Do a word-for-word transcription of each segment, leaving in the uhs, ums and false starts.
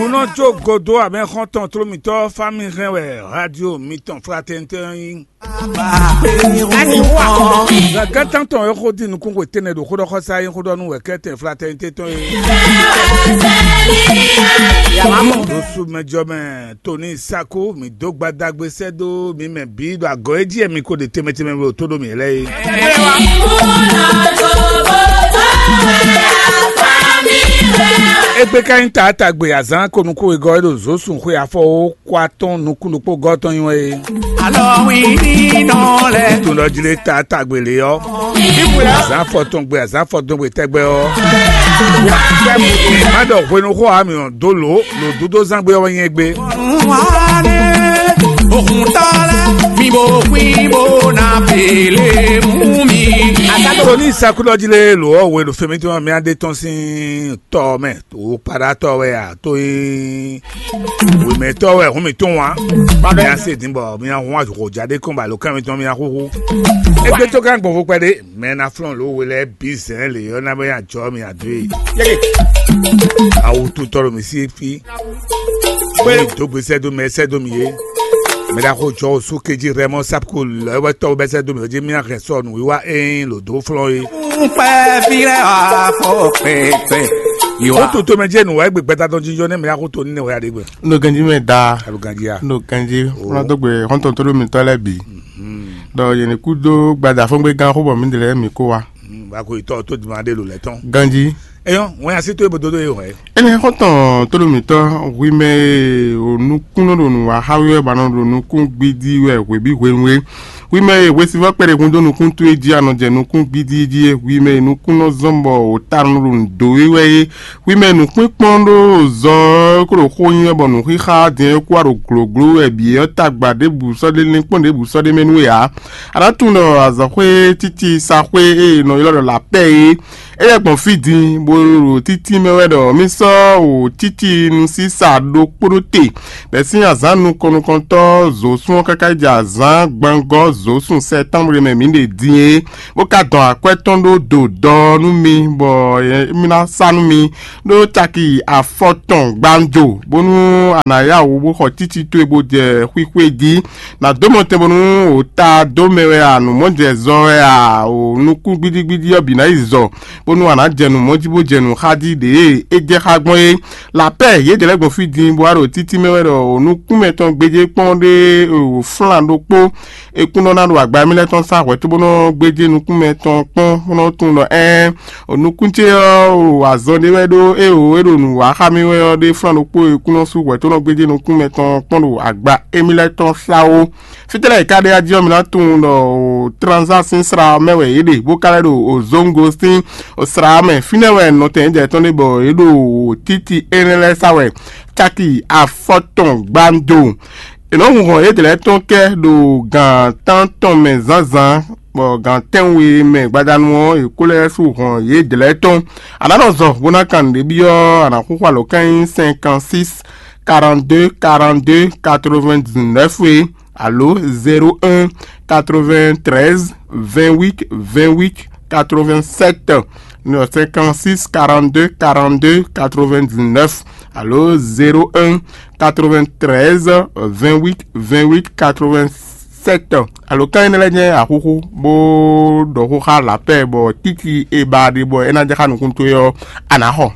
Nɔ jó godo abɛ xɔntɔn tlómitɔ fami hɛn wɛ radio mitɔn fratɛntɛ yín. Gǎgán tántɔn e xó dín nukún xwe tɛnɛ ɖo xóɖɔxɔsá yín xóɖɔnú wɛ kɛ́tɛn fratɛntɛ tɔn yín. Ɖo sumɛjɔmɛ Tony Sako mi dó gbadagbe sɛ́ dó mi mɛ bǐ ɖo agɔ̌ e jí wɛ mi ko ɖe tɛnmɛ tɛnmɛ ɖo tó ɖo mǐ lɛ́ɛ é. Égbé ka nyí taatagbe azǎn ko nukún wegɔ́ e ɖo zǒ sun xwe afɔ ó kó atɔ́ɔ́n nukún ɖokpó gɔ́ tɔn nyi wɛ é. Alɔ wi nínú lɛ. Tun ɖɔ jlé taatagbe lě ɔ́. Azǎn fɔtɔngbe azǎn fɔtɔngbe tɛgbɛ ɔ́. Má ɖɔ hwenuxó ami ɔ́ dó lǒ lǒ dúdó zán gbé ɔ́ wɛ nyɛ gbé. Òkúntọ́lá mi bò pín bò ná pèlè mú mi. Tony Sako ɖɔ jlé lǒ ɔ́ hwe ɖo fɛmɛ tí wọ́n mi adé tɔn sín tɔ mɛ. O paɖatɔ wɛ a to e wemɛtɔ wɛ hun mi tún wa. Mía se din bɔ mía hun azɔ̌ ja ɖé kɔn ba lo kán mitɔn mía xúxú. Egbe tó gán gbɔn fó kpɛɖé mɛ ná flɔn lo we lɛ bí zɛn le yɔ ná bɛ ya jɔ mi ado ye. Awu tutɔ lo mi si fi. Mi do gbe sɛ do mɛ sɛ do mi ye. Mɛ ɖa xo jɔ o su keji rɛ mɔ sapko lɛ wɛ tɔ bɛ sɛ do mi o je mía hɛn sɔ nu wiwa ee lo do flɔn ye. Kpɛ́ fi lɛ wá fɔ pɛpɛ. Ó tó tó mɛ jẹ́ nǔwá gbé gbɛta tɔn jínjɔ́n nɛ́ mɛ yá xó tó ní nɛ́ wɛ yá ɖé gbɛ. Nɔ ganjí mɛ da. Alo ganjí ya. Nɔ ganjí. Fúnra tó gbé xɔ́ntɔn tó ɖó mi tɔ́ lɛ́ɛ bǐ. Dɔ yě ní kú dó gbada fɔ́ngbé gán xó bɔ mí dě lɛ́ɛ mǐ kó wa. Bako yi tɔ tó dùn adé lò lɛ tɔn. Ganjí. Eyɔn, wọn yà sí tó ibo dodo yìí wɛ. Ene xɔ́ntɔn tó ɖo mǐtɔn hwi mɛ e o nukún nɔ ɖo nǔ wa xá wɛ ba nɔ ɖo nukún gbídí wɛ hwebǐ hwenu e. Hwi mɛ e hwesivɔ́ kpɛɖé hun dó nukún towe jí a nɔ jɛ nukún gbídí jí é, hwi mɛ e nukún nɔ zɔ́n bɔ wǒ ta nɔ ɖo nǔ dó we wɛ é, hwi mɛ e nǔkpínkpɔ́n ɖo zɔ ɔ́ kó ɖo xó nyi wɛ bɔ nǔxíxá din e kú wá ɖo glǒgló wɛ bǐ ɔ́ tagba ɖěbǔ sɔ́ ɖé linkpɔ́n ɖěbǔ sɔ́ ɖé mɛ nú we ǎ. A nǎ tunwun ɖɔ azɔ̌xwé títí saxwé e è nɔ ylɔ́ ɖɔ lapɛ́ é, é lɛ́ gbɔn fí din, bó ɖo títí mɛ wɛ ɖɔ mì sɔ́ wǒ títí nusísa ɖokpó ɖó te, bɛ̌ sín azǎn nukɔn nukɔntɔ́ zǒsún ɔ́ káká yi jɛ azǎn gbangɔ́ zǒsún sɛtánblu e mɛ mǐ ɖe din é, bó ka dɔn akwɛ́ tɔn ɖó do dɔ nú mi, bɔ émí ná sá nú mi ɖó caki afɔtɔn gbanjo, bónú a nǎ yá wǔ bó xɔ títí towe bó jɛ xwixwe jí. Nǎ dó mɔ tɛn bónú wǒ ta dó mɛ wɛ a, nǔmɔjɛzɔ wɛ a, o nukún gbídígbídí ɔ́ bǐ ná yi zɔ, bónú a nǎ jɛ nǔ mɔ jí bó jɛ nǔ xá jí ɖě e é jɛ xá gbɔn é. Lapɛ́ yědɛɛ lɛ́ɛ gbɔn fí din bó wá ɖo títí mɛ wɛ ɖɔ o nukún mɛtɔn gbéjé kpɔ́n ɖé o flán ɖokpó. Ekún nɔ ná ɖo agba émí lɛ́ɛ tɔn sá hwɛ̌ cóbónɔ gbéjé nukún mɛtɔn kpɔ́n bó nɔ́ tunwun ɖɔ ɛ́n, o nukún ce ɔ́ o azɔn ɖé wɛ ɖó é o é ɖo nǔ wa xá mì wɛ ɔ́ ɖé flán ɖokpó ekún nɔ sú hwɛ̌ tó nɔ gbéjé nukún mɛtɔn kpɔ́n ɖo agba émí lɛ́ɛ tɔn sá ó. Fítɛ́ lɛ́ɛ è ka ɖe ají ɔ́, mi ná tunwun ɖɔ o tranzá sín sra mɛ wɛ yě ɖe bó ka lɛ́ ɖo o zóńgo sín o sra mɛ. Fínɛ́ wɛ nɔtɛn jɛ tɔn ɖe bɔ yě ɖo o títí énɛ́ lɛ́ɛ sá wɛ caki afɔtɔn gbando. È nɔ hun hɔn yědɛɛ lɛ́ɛ tɔn kɛ ɖo gan tántɔn mɛ zǎnzǎn, bɔ gan tɛ́nwe mɛ gbadanu ɔ́, è ko lɛ́ sú hɔn yědɛɛ lɛ́ɛ tɔn. A nǎ nɔ zɔ bó ná kan nǔɖé byɔ́, a nǎ xúxú alɔ̌kánnyí cinquante-six quarante-deux quarante-deux quatre-vingt-dix-neuf é, alo zéro un quatre-vingt-treize vingt-huit vingt-huit quatre-vingt-sept, non, cinquante-six quarante-deux quarante-deux quatre-vingt-dix-neuf, alo zéro un quatre-vingt-treize vingt-huit vingt-huit quatre-vingt-sept. Alo kan énɛ́ lɛ́ɛ jɛ́n axúxú bó ɖɔ xó xá lapɛ́ bɔ títí e ba ɖe bɔ é ná jɛ xá nukún towe ɔ́, a nǎ xɔ.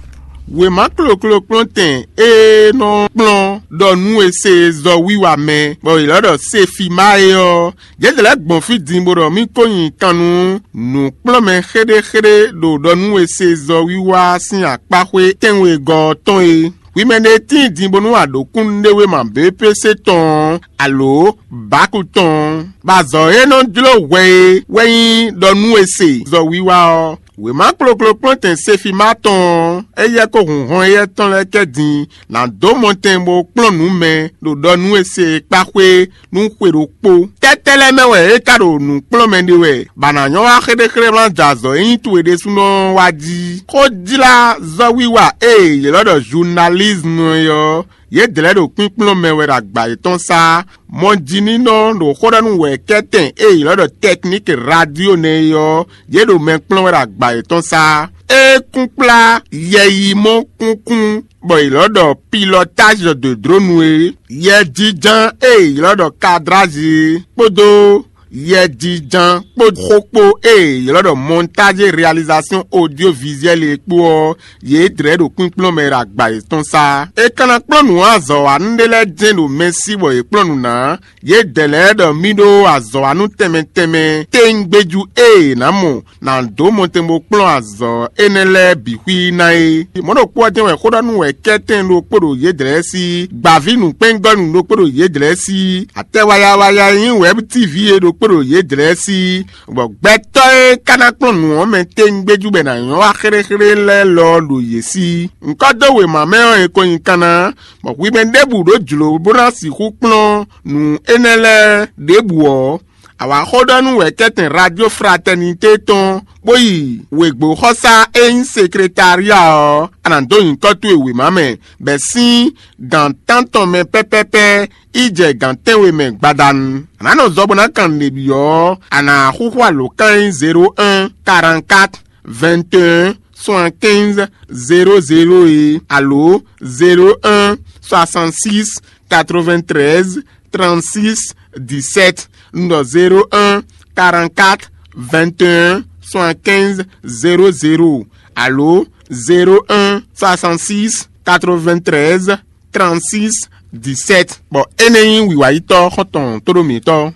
Wěma kloklo kplɔ́ntɛn e nɔ kplɔ́n ɖɔ nú e se zɔ wiwa mɛ, bɔ è lɔ́ ɖɔ Sefima é ɔ́, yědɛɛ lɛ́ɛ gbɔn fí din bó ɖɔ mì ko nyi kan nú nǔkplɔ́nmɛ xéɖéxéɖé ɖo ɖɔ nú e se zɔ wiwa sín akpáxwé tɛ́nwegɔ́ ɔ́ tɔn é. Hwi mɛ ɖé tíin din bónú a ɖǒ kúnnuɖéwéma B P C tɔn ɔ́, alo Baku tɔn ɔ́, bɔ azɔ̌ e nɔ jló hwɛ é wɛ nyí ɖɔ nú e se zɔ wiwa ɔ́. Wěma kloklo kplɔ́ntɛn Sefima tɔn ɔ́, éyɛ́ kó hun hɔn éyɛ́ tɔn lɛ́ɛ kɛ din, nǎ dó mɔtɛn bó kplɔ́n nǔ mɛ ɖo ɖɔ nú e se kpáxwé nú xwe ɖokpó. Tɛ́tɛ́ lɛ́ɛ mɛ wɛ é ka ɖo nǔ kplɔ́n mɛ ɖe wɛ, bɔ a nǎ nyɔ́ wá xéɖéxéɖé wlán jɛ azɔ̌ e nyí towe ɖésúnɔ ɔ́ wá jí. Xójlázɔ́wiwa e è ylɔ́ ɖɔ journalisme é ɔ́, yědɛɛ lɛ́ɛ ɖo kpínkplɔ́n mɛ wɛ ɖo agba yětɔn sá. Mɔjínínɔ ɖo xó ɖɔ nú wɛ̌kɛ́tɛn e è ylɔ́ ɖɔ technique radio nɛ́ é ɔ́, yě ɖo mɛ kplɔ́n wɛ ɖo agba yětɔn sá. É kún kplá yɛyimɔ kúnkún bɔ è lɔ́ ɖɔ pilotage de drone é, yɛjiján e è lɔ́ ɖɔ cadrage é, kpódó yɛjiján kpó xó kpó e è lɔ́ ɖɔ montage réalisation audiovisuelle é kpó ɔ́, yě dlɛ̌ ɖo kpínkplɔ́n mɛ ɖo agba yětɔn sá. È ka ná kplɔ́n nǔ azɔ̌wanú ɖé lɛ́ɛ jɛ́n ɖo mɛ sí bɔ yě kplɔ́n nǔ ná. Yědɛɛ lɛ́ɛ ɖɔ mì ɖó azɔ̌wanú tɛnmɛ tɛnmɛ téŋgbéjú e è nǎ mɔ ná dó mɔtɛn bó kplɔ́n azɔ̌ énɛ́ lɛ́ɛ bǐ xwí ná é. Mɔ̌ ɖokpó ɔ́ jɛ́n wɛ xóɖɔ́núwɛkɛ́tɛn ɖokpó ɖo yědɛɛ sí, gbǎví nǔkpɛ́ngɔ́nú ɖokpó ɖo yědɛɛ sí, atɛ wayawaya e nyí wɛ̌btíví é ɖokpó ɖo yědɛɛ sí, bɔ gbɛtɔ́ e ka ná kplɔ́n nǔ ɔ́ mɛ téŋgbéjú bɔ è nǎ nyɔ́ wá xéɖéxéɖé lɛ́ɛ lɔ ɖo yě sí. Ŋkɔ́ dó wěma mɛ ɔ́, è ko nyi kanna, bɔ hwi mɛ ɖěbǔ ɖó jlǒ bó ná sixú kplɔ́n nǔ énɛ́ lɛ́ɛ ɖěbǔ ɔ́, a wǎ xó ɖɔ nú wɛ̌kɛ́tɛn Radio Fraternité tɔn, bó yi wěgbóxɔsá e nyí sekretária ɔ́, a nǎ dó nyǐkɔ towe wěma mɛ, bɔ è sín gǎn tántɔn mɛ pɛ́pɛ́pɛ́ yi jɛ gǎn tɛ́nwe mɛ gbadanu. A nǎ nɔ zɔ bó ná kan nǔɖé byɔ́ ɔ́, a nǎ xúxú alǒkan e nyí zéro un, quarante-quatre, vingt et un, soixante-quinze, zéro zéro é, alo zéro un, soixante-six, quatre-vingt-treize, trente-six, dix-sept, un ɖɔ zéro un, quarante-quatre, vingt et un, soixante-quinze, zéro zéro, alo zéro un, soixante-six, quatre-vingt-treize, trente-six, dix-sept. Bɔ énɛ́ nyí wǐwáyítɔ́ xɔ́ntɔn tóɖó mǐtɔn.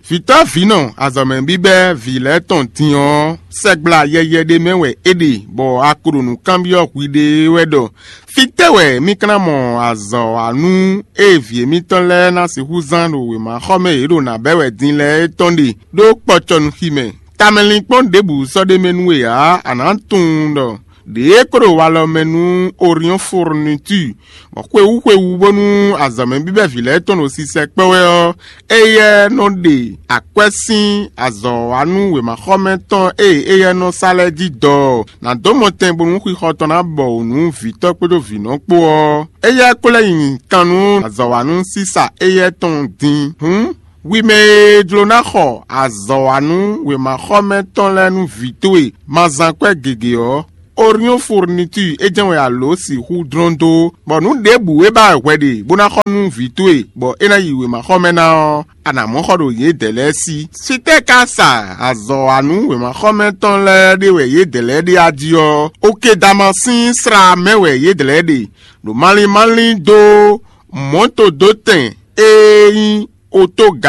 Vǐtɔ́ vǐnɔ azɔ̌mɛ bíbɛ́ vǐ lɛ́ɛ tɔn din ɔ́, sɛgbla yɛyɛ ɖé mɛ wɛ é ɖe, bɔ a ko ɖo nǔ kanbyɔ́ hwiɖée wɛ ɖɔ: Fítɛ́ wɛ mì ka ná mɔ azɔ̌wanú e vǐ émítɔn lɛ́ɛ ná sixú zán ɖo wěmaxɔmɛ e yě ɖo nǎ bɛ́ wɛ din lɛ́ɛ é tɔn ɖe, ɖó kpɔcɔnúxi mɛ? Tamɛlinkpɔ́n ɖěbǔ sɔ́ ɖ'é mɛ nú we ǎ; a nǎ tunwun ɖɔ ɖě e ko ɖo walɔ mɛ nú Oriɔ́n Fourniture, bɔ xwewú xwewú bónú azɔ̌mɛ bíbɛ́ vǐ lɛ́ɛ tɔn ɖo sisɛ kpɛ́ wɛ ɔ́, éyɛ́ nɔ ɖe akwɛ́ sín azɔ̌wanú wěmaxɔmɛ tɔn e éyɛ́ nɔ sa lɛ́ɛ jí dɔ ɔ́, nǎ dó mɔtɛn bónú xixɔ tɔn ná bɔ wǔ nú vǐtɔ́ kpódó vǐnɔ kpó ɔ́. Éyɛ́ ko lɛ́ nyi kan nú azɔ̌wanú sísa éyɛ́ tɔn din. Hǔn, hwi mɛ e jló ná xɔ azɔ̌wanú wěmaxɔmɛ tɔn lɛ́ɛ nú vǐ towe ma zán kwɛ́ gěgé ɔ́, Oriɔ́n Fourniture é jɛ́n wɛ a lǒ sixú dlɔ́n dó, bɔ nǔ ɖěbǔ e ba wɛ hwɛ ɖe bó ná xɔ nú vǐ towe, bɔ é ná yi wěmaxɔmɛ ná ɔ́, a nǎ mɔ xɔ ɖo yědɛɛ lɛ́ɛ sí. Fítɛ́ ka sa azɔ̌wanú wěmaxɔmɛ tɔn lɛ́ɛ ɖe wɛ yědɛɛ lɛ́ɛ ɖe a jí ɔ́, oke Damasín slá mɛ wɛ yědɛɛ lɛ́ɛ ɖe, ɖo malín málín dó mɔ̌todótɛn e nyí otoga